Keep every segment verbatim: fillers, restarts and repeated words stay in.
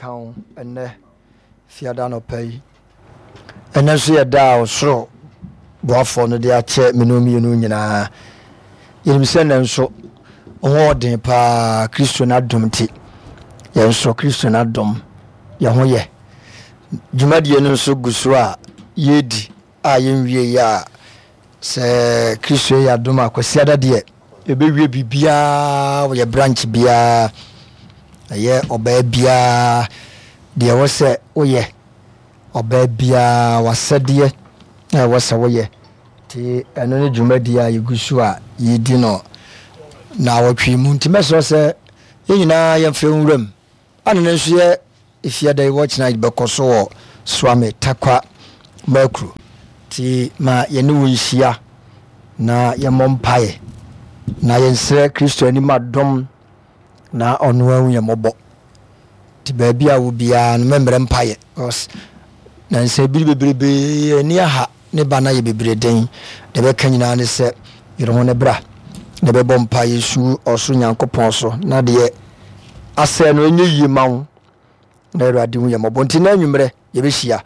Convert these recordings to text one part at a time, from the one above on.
Nka wo ɛnnɛ Fiada anɔpa yi. Ɛnnɛ nso yɛ da a ɔsoro boafoɔ no de akyɛ me ne mmienu nyinaa. Yɛnim sɛ nnɛ nso ho ɔden paa Kristo n'adom nti. Yɛn nso Kristo n'adom yɛn ho yɛ. Dwumadie no nso gu so a yɛredi a yɛnwie yɛ a sɛ Kristo yɛ adom a Kwasiada deɛ yɛbɛwie biribiara wɔ yɛ branch biara, ɛyɛ ɔbaa biara deɛ ɛwɔ sɛ woyɛ, ɔbaa biara w'asɛdeɛ na ɛwɔ sɛ woyɛ. Nti ɛno ne dwumadie a yɛgu so a yɛdi no naawɔtwe mu. Nti mɛsrɛ sɛ yɛn nyinaa yɛmfa nwuram. Ana no nso yɛ Efiada yi watch night bɛkɔ so wɔ Suame Tarkwa Makuro. Nti ma yɛne wo nhyia na yɛmmɔ mpaeɛ na yɛnsrɛ Kristo anim adom na ɔno ahu yɛn mmɔbɔ. Nti baabi a wo biara no mɛmmerɛ mpaeɛ because nansa biri bebrebe ani aha ne ba no ayɛ bebree den. Deɛ bɛka nyinaa ne sɛ yere ho ne bra na bɛbɔ mpaeɛ su ɔsoro Nyankopɔn so na deɛ asɛe no ɛnyɛ yie ma wo na Awurade hu yɛn mmɔbɔ. Nti na anwummerɛ yɛbɛhyia,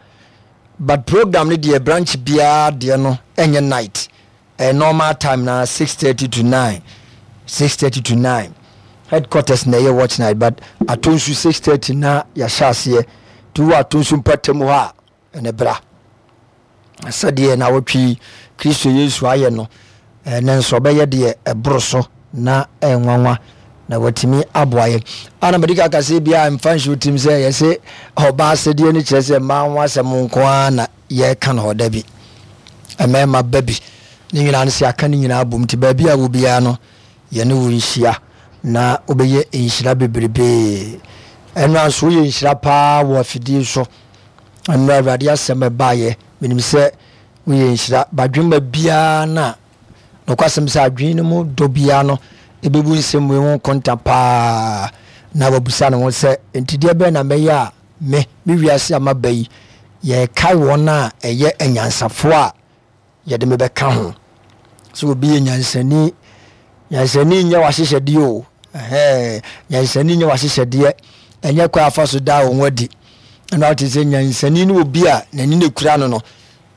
but program no deɛ branch biara deɛ no ɛnyɛ night, ɛyɛ normal time na six thirty to nine, six thirty to nine. Headquarters na ɛyɛ watch night, but Atonsu six thirty na yɛahyɛ aseɛ. Nti wowɔ Atonsu mpɔtam hɔ a ɛne bra. Sɛdeɛ naawɔtwe yi Kristo Yesu ayɛ no, ɛnɛ nso ɔbɛyɛ deɛ ɛboro so na ɛnwanwa na watumi aboa yɛn. Ana mede ka kasa bi a mfa nhyɛ tirim sɛ yɛse ɔbaa asɛdeɛ no kyerɛ sɛ mmaa ho asɛm nko ara na yɛreka no hɔ. Da bi mmarima ba bi ne nyinaa no sɛ aka ne nyinaa bom. Nti baabi a wɔ biara no yɛne wo nhyia na wobɛyɛ nhyira bebrebee. Ɛno nso woyɛ nhyira paa wɔ afidie so. Mmerɛ Awurade asɛm ɛbaeɛ, menim sɛ woyɛ nhyira. Badwemma biara no a, nokwasɛm sɛ adwene no mu dɔ biara no ɛbɛbu nsɛm wei ho nkonta paa na wabusa ne ho sɛ, enti deɛ bɛn na mɛyɛ a me, me wiase a maba yi, yɛrekae wɔn a ɛyɛ anyansafoɔ a yɛde me bɛka ho. Sɛ obi yɛ nyansani, nyansani nyɛ w'ahyehyɛdeɛ o, ɛhɛn, nyansani nyɛ w'ahyehyɛdeɛ, ɛnyɛ kwan afa so daa wɔn adi. Ɛna ɔte sɛ nyansani ne obi a n'ani na ekura no no,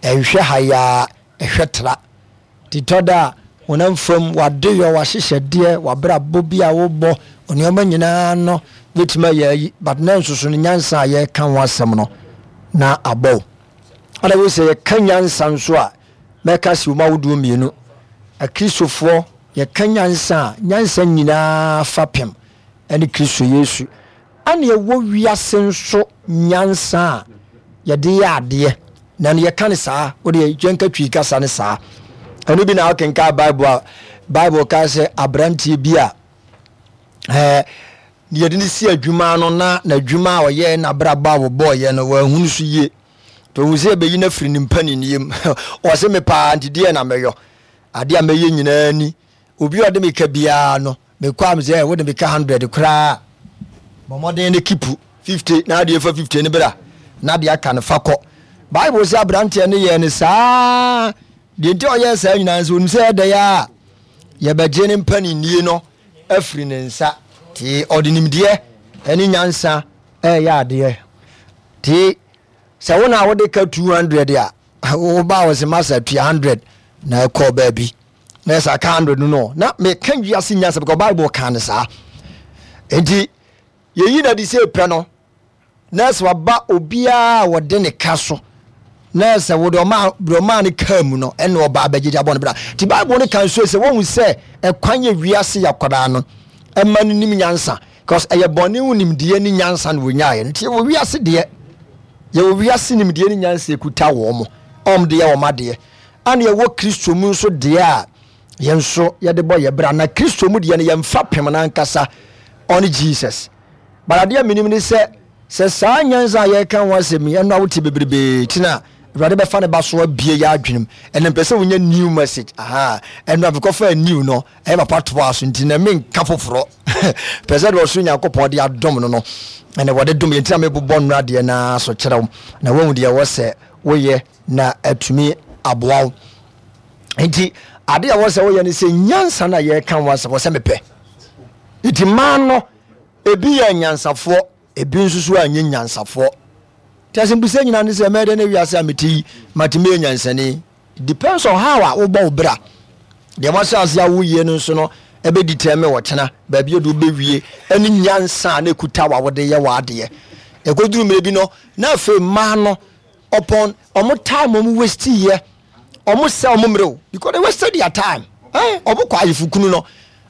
ɛnhwɛ ha yaa, ɛhwɛ tra. Titɔ da a honam fam w'adeyɔ, w'ahyehyɛdeɛ, w'abrabɔ bi a wobɔ, nneɛma nyinaa no bɛtumi ayɛ ayi, but na nso so no nyansa a yɛreka ho asɛm no na abɔ wo. Ana wo sɛ yɛka nyansa nso a, mɛka si wɔn ahodoɔ mmienu. Akristofoɔ, yɛka nyansa a, nyansa nyinaa fapem ɛne Kristo Yesu. Ana ɛwɔ wiase nso nyansa a yɛde yɛ adeɛ, na no yɛka no saa, wode yɛnka Twi kasa no saa. Ɛno bi na wokenka Bible a, Bible ka sɛ aberanteɛ bi a ɛɛ yɛde no si adwuma no na n'adwuma a ɔyɛɛ n'abrabɔ a wɔbɔɔyɛ no wɔahunu so yie. Nti ɔhu sɛ yɛbɛyi no afiri ne mpaninnie mu. Ɔse me paa nti deɛ na mɛyɔ, adeɛ a mɛyɛ nyinaa ni. Obi a ɔde me ka biara no, mekɔ a mesɛ wode me ka hundred koraa, bɔ mmɔden no kipu fifty na adeɛ fa fifty no bra na adeɛ aka no fa kɔ. Bible sɛ aberanteɛ no yɛɛ no saa. Deɛ nti a ɔyɛɛ saa nyinaa nso onim sɛ ɛdɛ yɛ a yɛbɛgye ne mpaninnie no afiri ne nsa. Nti ɔde nimdeɛ ne nyansa ɛyɛ adeɛ. Nti sɛ wo na wode ka two hundred a, woba wɔ sɛ masa tua hundred na ɛkɔ baabi na ɛsɛ aka hundred no no na meka wiase nyansa because Bible ka no saa. Nti yɛyi na de sɛ pɛ no na sɛ waba obiara a wɔde ne ka so na sɛ wode ɔma deɛ ɔmaa no kaa mu no ɛna ɔba abɛgyegye abɔ no bra. Nti Bible no ka nso sɛ wɔhu sɛ ɛkwan yɛ wiase yɛ akwadaa no ɛma no nim nyansa because ɛyɛ bɔne ho nimdeɛ ne nyansa na wɔnyaeɛ. Nti yɛwɔ wiase deɛ, yɛwɔ wiase nimdeɛ ne nyansa ɛkuta wɔn mo ɔm de yɛ wɔn adeɛ, ana yɛwɔ Kristo mu nso deɛ a yɛn nso yɛde bɔ yɛ bra. Na Kristo mu deɛ no yɛmfa pem no ankasa ɔne Jesus. But adeɛ a menim ne sɛ sɛ saa nyansa a yɛreka ho asɛm yi ɛno a wote bebrebee ti na Awurade bɛfa ne ba so abie yɛ adwenem. Ɛnna mpɛ sɛ wonya new message aha ɛno a mekɔfa new no ɛyɛ papa toa so nti na menka foforɔ pɛ sɛ deɛ ɔsoro Nyankopɔn de adom no no ɛna wɔde dom yɛ nti na mebobɔ nnora deɛ naa so kyerɛ wo na woahu deɛ ɛwɔ sɛ woyɛ na atumi aboa wo. Nti ade a ɛwɔ sɛ woyɛ ne sɛ nyansa no a yɛreka ho asɛm wɔ sɛ mepɛ. Nti mmaa no ebi yɛ anyansafoɔ, Ebi nso so anyɛ nyansafoɔ. Nti asɛmbisa nyinaa ne sɛ, mɛyɛ dɛn na wiase a mete yi matumi ayɛ nyansani? It depends on how a wobɔ wo bra. Deɛ wahyɛ ase a woyɛ no nso no ɛbɛ determine ɔkyena baabi a de wobɛwie ɛne nyansa a na ɛkuta wa wode yɛ w'adeɛ. Ɛkɔduru mmerɛ bi no na afei mmaa no upon ɔmo time ɔmo waste yɛ ɔmo sɛ ɔmo mmerɛ o because they wasted their time. Eh, ɔmo kɔ ayefokunu no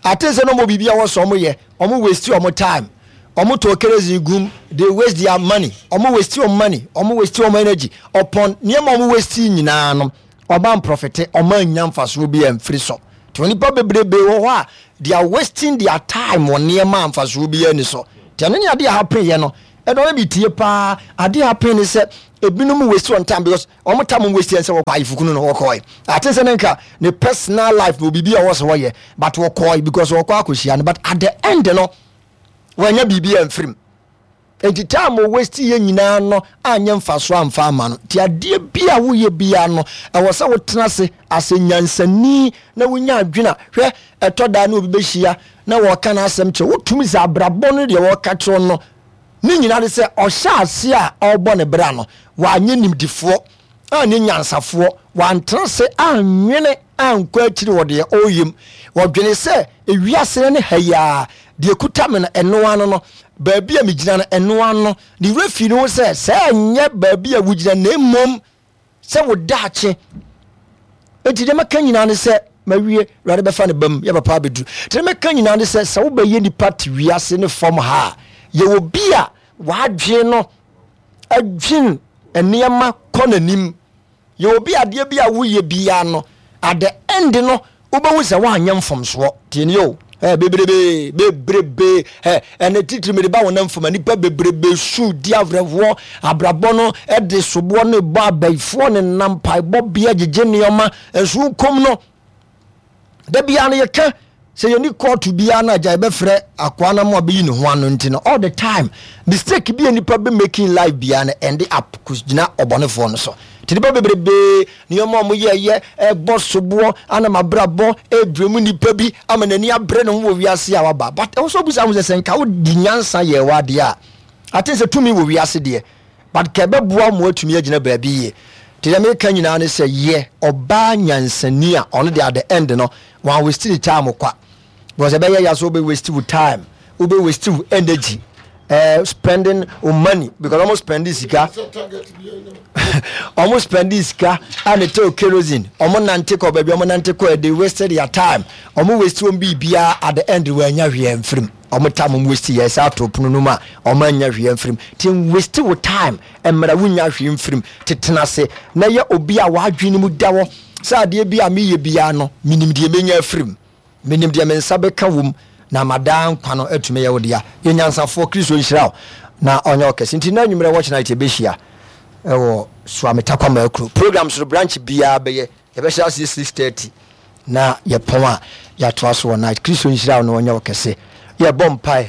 ate sɛ na ɔmo biribi a wɔsɔ ɔmo yɛ ɔmo waste ɔmo time ɔmo tɔ kerosene gum they waste their money ɔmo waste ɔmo money ɔmo waste ɔmo energy upon nneɛma ɔmo waste nyinaa no ɔmo amprofit ɔmo anya mfasoɔ bi amfiri so nti onipa bebrebe wɔ hɔ a they are wasting their time wɔ nneɛma a mfasoɔ bi ani so nti ɛno ne adeɛ a happen yɛ no ɛdɔn bi tie paa adeɛ a happen ne sɛ ebinom waste on time because ɔmo time ɔmo waste yɛn sɛ wɔkɔ ayefokunu no wɔkɔɛ ate sɛ ne nka ne personal life na obibi a wɔsɛ wɔyɛ but wɔkɔɛ because wɔkɔ akɔhyia no but at the end no wɔanya biribi amfirim nti time o waste yɛ nyinaa no anyɛ mfaso amfa ama no nti adeɛ bi a woyɛ biara no ɛwɔ sɛ wotena ase asɛ nyansani na wonya adwene a hwɛ ɛtɔ daa ne obi bɛhyia na wɔka no asɛm kyerɛ wotumi sɛ abrabɔ no deɛ wɔka kyerɛ no ne nyinaa de sɛ ɔhyɛ ase a ɔrebɔ ne bra no wanyɛ nimdifoɔ anyɛ nyansafoɔ wantena se anwene ankɔ akyiri wɔ deɛ ɔreyɛ mu wɔdwene sɛ ewiase no ne ha yi a deɛ kuta me no ɛno ano no baabi a megyina no ɛno ano ne werɛ fi ne ho sɛ sɛ ɛnyɛ baabi a wogyina na mmom sɛ wo daakye enti deɛ mɛka nyinaa ne sɛ mawie awurade bɛfa ne bam yɛ papa abɛduru nti deɛ mɛka nyinaa ne sɛ sɛ wobɛyɛ nipa te wiase ne fam ha a yɛwɔ bi a wadwene no adwene nneɛma kɔ n'anim yɛwɔ bi adeɛ bi a woyɛ biara no at the end no wobɛhu sɛ woanyɛ mfomsoɔ tie nie o ɛ bebrebe bebrebe ɛ ɛnɛ titiri mede ba wɔn nam fam nipa bebrebe su di awerɛhoɔ abrabɔ no ɛde soboɔ ne bɔ abayifoɔ ne nam mpaebɔ bea gyegye nneɛma nso nkom no da biara no yɛka sɛ yɛni kɔɔto biara no agya yɛbɛfrɛ akoa no ma ɔbɛyi ne ho ano nti no all the time mistake bi a nipa bɛ making life biara no end up gyina ɔbɔnefoɔ no so nti nipa bebrebe nneɛma a wɔyɛɛyɛ ɛbɔ soboɔ anam abrabɔ ɛdure mu nipa bi ama n'ani abere ne ho wɔ wiase a waba but ɛwɔ sɛ obusa ho sɛ sɛ nka wodi nyansa yɛ w'adeɛ a ate sɛ tumi wɔ wiase deɛ but ka ɛbɛboa mo atumi agyina baabi yie nti deɛ meka nyinaa ne sɛ yɛ ɔbaa nyansani a ɔno deɛ at the end no wɔn waste ne time kwa because ɛbɛyɛ ya so wobɛ waste wo time wobɛ waste wo energy uh, spending wo money because ɔmo spending sika ɔmo spending sika a ne tɛ kerosene ɔmo nante kɔ baabi ɔmo nante kɔ they wasted their time ɔmo waste wɔn biribiara at the end wɔn anya hwee mfirim ɔmo time ɔmo waste yɛ ɛsɛ ato pono no mu a ɔmo anya hwee mfirim ti waste wo time mmerɛ wonya hwee mfirim tetena ase na yɛ obi a wadwene mu da hɔ sɛ adeɛ bi a meyɛ biara no menim deɛ menya afirim menim deɛ me nsa bɛka wom na madaa nkwa no atumi yɛ wo dea yɛ nyansafoɔ kristo nhyira wo na ɔnyɛ ɔkɛse nti na anwummerɛ watch night yɛbɛhyia ɛwɔ Suame Tarkwa Akuro program so branch biara bɛyɛ yɛbɛhyɛ aseɛ six thirty na yɛpɔn a yɛatoa so wɔ night kristo nhyira wo na ɔnyɛ ɔkɛse yɛbɔ mpae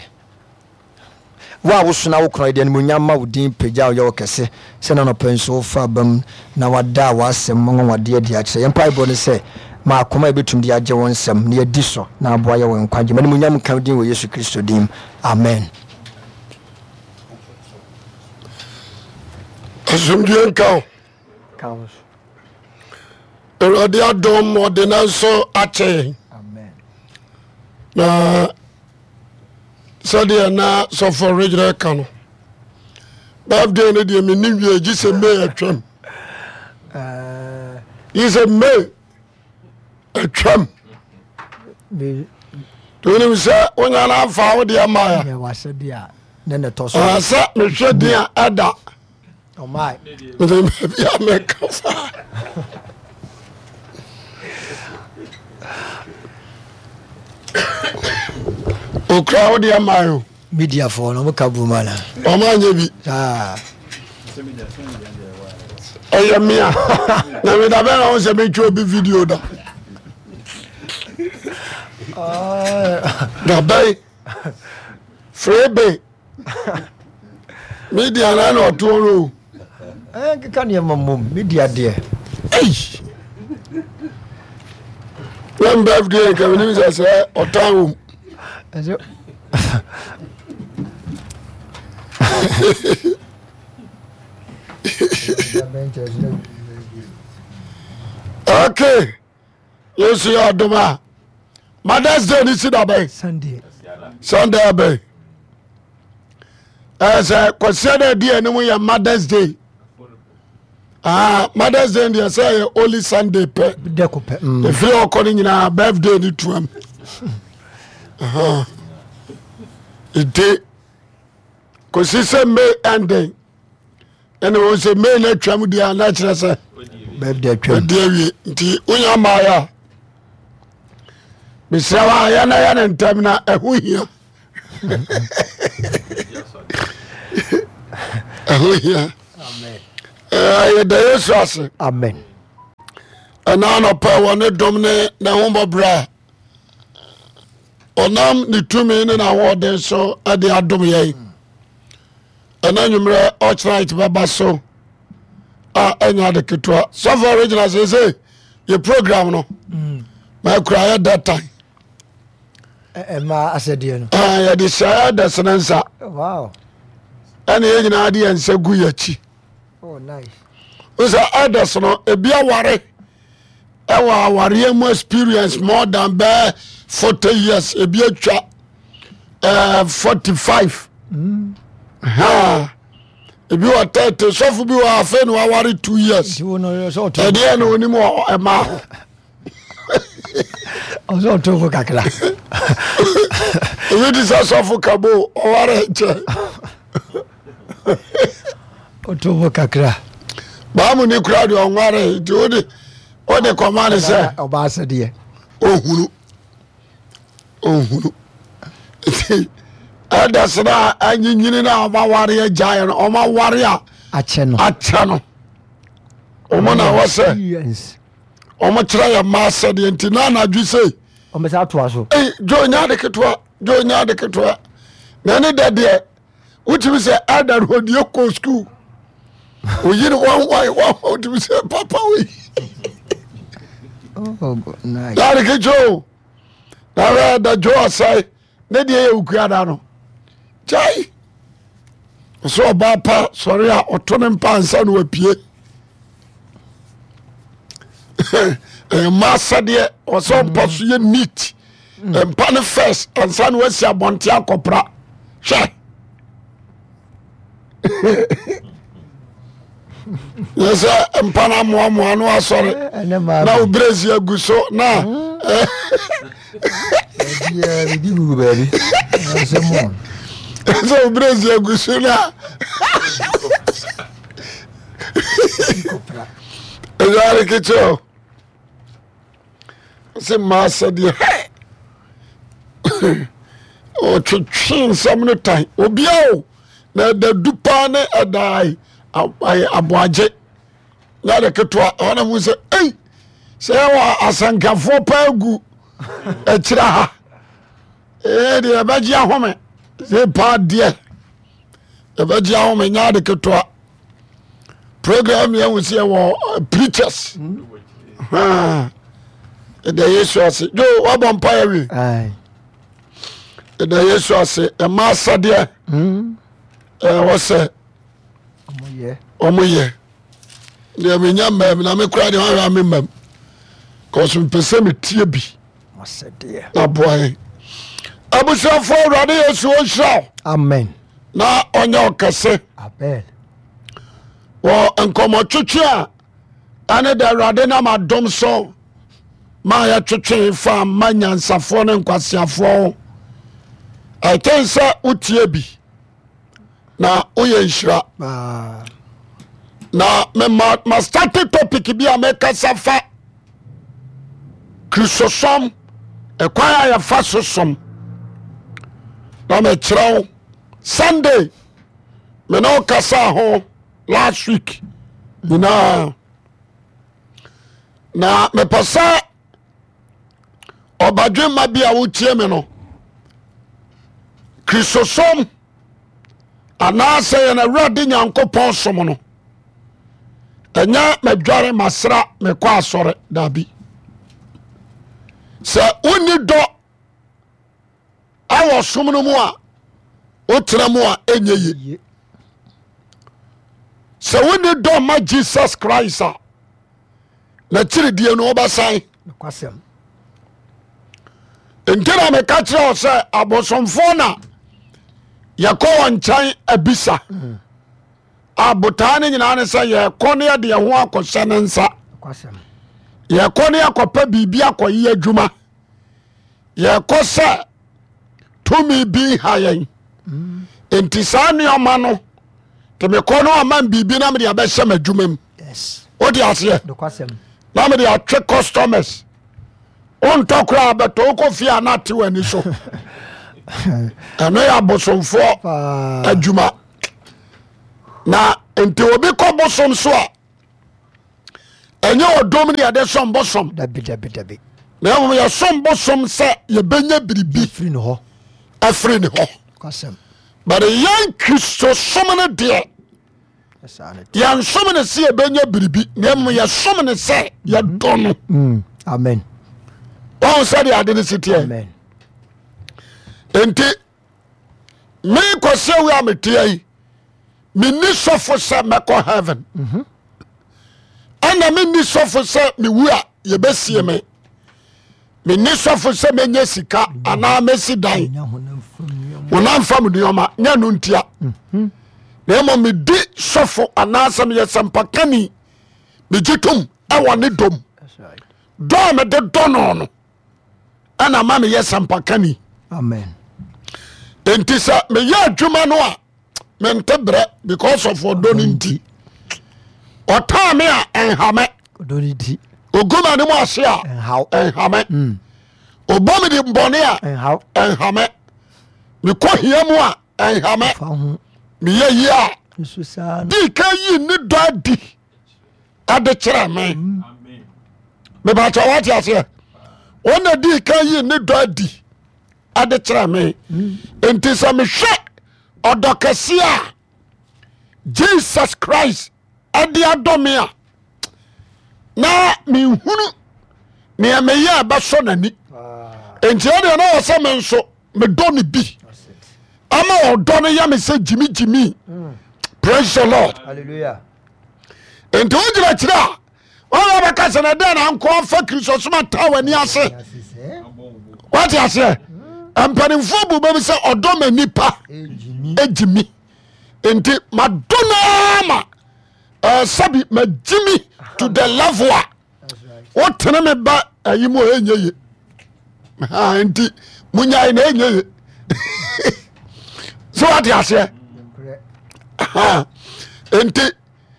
wo a wosona wo korɔn yɛde animuonyam ma wo din pagya wo yɛ wo kɛse sɛ na nɔpɛ nso wofa aba mu na wada w'asɛm nwanwadeɛ adi akyerɛ yɛn mpaebɔ ne sɛ ma akoma a yɛbɛtumi de agye wo nsɛm na yɛadi so na aboa yɛ wɔ nkwagye ma animuonyam nka wo din wɔ yesu kristo din amen asomdue nka wo awurade adɔm ɔde no nso akyɛ yɛn na sɛdeɛ na sɔfo regyerɛ ka no birthday no deɛ menni wie gye sɛ may atwam gye sɛ may atwam wonim sɛ wonya no amfa wo deɛ maɛ sɛ mehwɛ din a ɛda mede baabi a mɛka saa okura wo deɛ ma o mediafoɔ no ɔmo bu ma na ɔmo anyɛ bi ɛyɛ mea na meda bɛn na wo sɛ metwa obi video da da bɛn frebe media na na ɔtoɔ no o nkeka nneɛma mmom media deɛ na birthday nka menim sɛ sɛ ɔtan wom Okay, Yesu yɛ ɔdom a Mothers Day ne si da bɛn? Sunday. Sunday abɛn. Ɛyɛ sɛ Kwasia da adi anim yɛ Mothers Day. Ah, Mothers Day deɛ sɛ ɛyɛ only Sunday pɛ. Dɛko pɛ. Mm. Efiri ɔkɔ no nyinaa birthday ne tuam. Nti kòsi sɛ May ending ɛna wɔn sɛ May na atwam deɛ a na kyerɛ sɛ birthday atwam. Ɛdi awie nti wonya mmaayɛ a mesrɛ wo a yɛn na yɛ ne ntɛm na ɛho hia. Ɛho hia. Yɛda Yesu ase. Amen. Ɛna anɔpɛ wɔ ne dom ne n'ahummɔborɔ a ɔnam ne tumi ne n'ahoɔden so de adom yɛn. Ɛna nwummerɛ ɔkyerɛ bɛba so a ɛnyɛ ade ketewa. Sɔfo original sese yɛ program no mm. ma akura yɛ that time. Ɛma asɛdeɛ no. Yɛde hyɛ ɛdɛsene nsa. Wow. Ɛna yɛn nyinaa de yɛn nsa gu yɛn akyi. Oh, nice. Sɛ ɛdɛs no ebi aware ɛwɔ awareɛ mu experience more than bɛɛ forty years, ebi atwa ɛɛ forty five. Mm. Ebi wɔ thirty, sɔfo bi wɔ afei na waware two years. Ɛdeɛ na onim wɔ ɛmaa ho. Ɔsɛ ɔto fo kakra. Ebi ti sɛ sɔfo kabo ɔware nkyɛ. Ɔto fo kakra. Baamu ni kura deɛ ɔnware nti o de o de kɔma ne sɛ. Ɔbaa sɛdeɛ. Ohunu ohunu nti ɛda sɛ na anyinyini na ɔma ware agyaeɛ no, ɔma ware a akyɛ no akyɛ no ɔmo na wɔ sɛ ɔmo kyerɛ yɛ mmaa sɛdeɛ nti na anadwo sei. Ɔmo sɛ atoa so. Ei dwo nya ade ketewa, dwo nya ade ketewa na ɛne dɛ deɛ wotumi sɛ ɛda no ɔdeɛ kɔ sukuu oyi no wanwan wanwan wotumi sɛ papa wei. Oh, nice. Nya ade ketewa o na hwɛ da dwo ɔsɛe ne deɛ yɛ okuada no gyae ɔsɛ ɔbaa pa sɔre a ɔto ne mpa ansa na wapue. Mma asɛdeɛ ɔsɛ ɔmpa so yɛ neat, mpa no first ansa na wasi abɔnte akɔpra. Hwɛ yɛ sɛ mpa no amoamoa no asɔre na wo brɛsi agu so na sɛ wo brɛsi agu so na ɛyare kekyɛ o sɛ mmaa sɛdeɛ ɔtwetwe nsɛm no tan obia o na ɛda du paa ne ɛda aboagye na ɛde ketewa ɛhɔ na mu sɛ ei sɛ ɛwɔ asɛnkafoɔ paa gu akyira ha ee deɛ ɛbɛgye ahome sɛ paa deɛ ɛbɛgye ahome nyɛ ade ketewa. Program yɛn ho sɛ yɛwɔ eh, preachers ɛda Yesu ase jo wabɔ mpa yɛ wie ɛda Yesu ase ɛma asɛdeɛ hmm. ɛwɔ sɛ ɔmo yɛ deɛ menya mmam na mekora deɛ ɔhwɛ me mmam kɔso mepɛ sɛ metie bi na boa yɛn abusuafoɔ. Awurade Yesu ɔnhyira wo. Amen. Na ɔnyɛ ɔkɛse. Amen. Wɔ nkɔmmɔtwetwe a ɛne da Awurade nam adom so ma yɛtwetwe fa ma nyansafoɔ ne nkwaseafoɔ ho, ɛten sɛ wotie bi na woyɛ nhyira. Na mema mastate topic bi a mekasa fa Kristosom, ɛkwan a yɛfa so som, na mekyerɛ wo Sunday mene wo kasa ho last week nyinaa, na mepɛ sɛ ɔbadwemma bi a wotie me no, Kristosom anaasɛ yɛn Awurade Nyankopɔn som no, ɛnyɛ madware masra mekɔ asɔre daabi. Sɛ wonni dɔ awɔ som no mu a wotena mu a ɛnyɛ ye. Sɛ wonni dɔ ma Jesus Christ a, n'akyiridie no wobɛsan. Nokwasɛm. Nti na meka kyerɛ wo sɛ abosomfoɔ na yɛkɔ wɔn nkyɛn abisa. Mm. A botaa no nyinaa ne sɛ yɛkɔ ne yɛde yɛn ho akɔhyɛ ne nsa. Nokwasɛm. Yɛkɔ ne yɛkɔpɛ biribi akɔyɛ adwuma. Yɛkɔ sɛ tumi bi ha yɛn. Mm. Nti saa nneɛma no te mekɔ no ama biribi na mede abɛhyɛ m'adwuma mu. Yes. Wode aseɛ? Nokwasɛm. Na mede atwe customers. Wontɔ koraa bɛtɔ wokɔ fie a na ate w'ani so. Ɛno yɛ abosomfoɔ Paa. adwuma. Na nti obi kɔ bosom so a ɛnyɛ ɔdom ne yɛde som bosom. Dabi dabi dabi. Na mmom yɛsom bosom sɛ yɛbɛnya biribi Firi ne hɔ. afiri ne hɔ. Nokwasɛm. But yɛn Kristosom no deɛ Saa ne te. yɛnsom ne sɛ yɛbɛnya biribi na mmom yɛsom ne sɛ yɛdɔ no. Mm. Amen. Wɔn sɛdeɛ ade no si teɛ. Amen. Nti me Kwasi awi a meteɛ yi menni sɔfo sɛ mɛkɔ heaven Mhm. ɛna menni sɔfo sɛ mewu a yɛbɛsie me menni sɔfo sɛ mɛnya sika anaa mɛsi dan Nya honam fam nneɛma. Honam fam nneɔma nyɛ no ntia na mmom medi sɔfo anaasɛ meyɛ sɛmpakani megye tom ɛwɔ ne dom. That's right. Dɔ a mede dɔ no no ɛna ma meyɛ sɛmpakani. Amen. Nti sɛ meyɛ adwuma no a mente brɛ because of ɔdɔ no nti. Ɔtaa me a ɛnha me. Ɔdɔ ne nti. Ogu m'anim ase a Ɛnhaw. ɛnha me. Mm. Ɔbɔ me de bɔne a Ɛnhaw. ɛnha me. Mekɔ hia mu a ɛnha me. Fa ho. Meyɛ yie a Nso saa no. dii ka yi ne dɔ adi ɛde kyerɛ me. Mebakyɛ wate aseɛ, ɔna dii ka yi ne dɔ adi ɛde kyerɛ me. Nti sɛ mehwɛ ɔdɔ kɛseɛ a Jesus Christ ɛde adɔ me a na menhunu nea meyɛ a ɛbɛsɔ n'ani. Paa. Nti ɛdeɛ na wɔ sɛ me nso medɔ no bi That's it. ama ɔdɔ no yɛ me sɛ gyimigyimi. Praise the Lord. Hallelujah. Nti wogyina kyerɛ a wɔn bɛka sɛ na dɛn na nkɔ afa Kristosom ata w'ani ase. Ase sɛ. Wate aseɛ, mpanimfoɔ bu bɛbi sɛ ɔdɔ ma nipa Egyimi. gyimi. Nti madɔ no ara ma eh, sɛbi magyimi to the level a That's right. wotene me ba ayi mu a ɛnyɛ ye. Ha, nti munyae na ɛnyɛ ye sɛ wate aseɛ. Nokorɛ. Ha, nti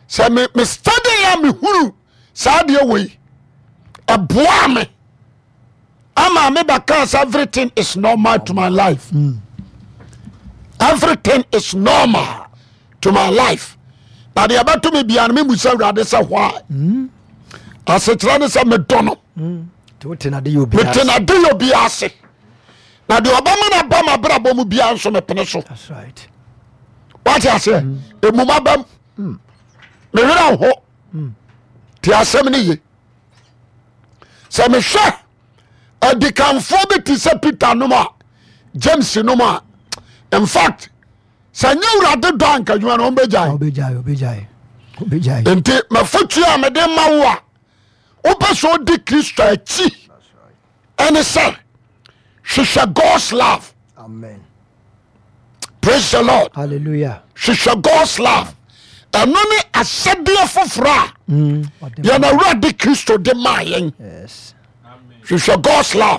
sɛ me me study a mehunu saa deɛ wei ɛboa me ama me bɛka sɛ everything is normal to my life. Mm. Everything is normal to my life na deɛ ɛbɛto me bia no memu sɛ Awurade sɛ why. Mm. Asekyerɛ ne sɛ medɔ no. Mm. Nti wote n'ade yɛ obiara mete ase. nade yɛ obiara ase na deɛ ɔbɛma no aba mabrabɔ mu biara nso mepene so. That's right. Wate aseɛ, ɛmum abam mewerɛ ho. Te asɛm no ye. Sɛ mehwɛ adikanfoɔ bi te sɛ Peter nom a James nom a, in fact sɛ nyɛ Awurade dɔ anka adwuma no ɔmbɛgyae. Ɔbɛgyae, ɔbɛgyae. Ɔbɛgyae. Nti mafotuo a mede ma wo a wopɛ sɛ ɔdi Kristo akyi That's right. ɛne sɛ hwehwɛ God's love. Amen. Praise the Lord. Hallelujah. Hwehwɛ God's love, ɛno ne asɛdeɛ foforɔ a Mm. Ɔde yɛn Awurade Kristo de maa yɛn. Yes. Hwehwɛ God's love.